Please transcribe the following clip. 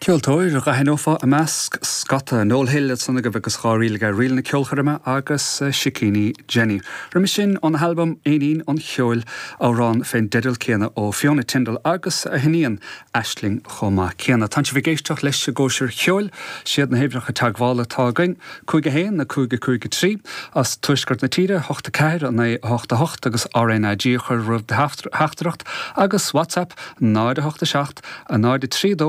Ceoltóir a d'aithneofá i measc scata, Noel Hill ansan agaibh agus 2 ríl aige, Ríl na Ceolchoirme agus Sicíní Jenny. Roimhe sin, óna halbam Éinín an Cheoil, amhrán fén dteideal céanna ó Fiona Tindall agus a hiníon Aisling chomh maith céanna. Tánn sibh ag éisteacht leis an gCóisir Cheoil. Siad na huimhreacha teagmhála atá againn, 5 1 5 5 3, as tuaisceart na tíre, 8 4 9 8 8 agus RnaG a chur roimh do theachtaireacht agus WhatsApp 0 8 7 0 3 2.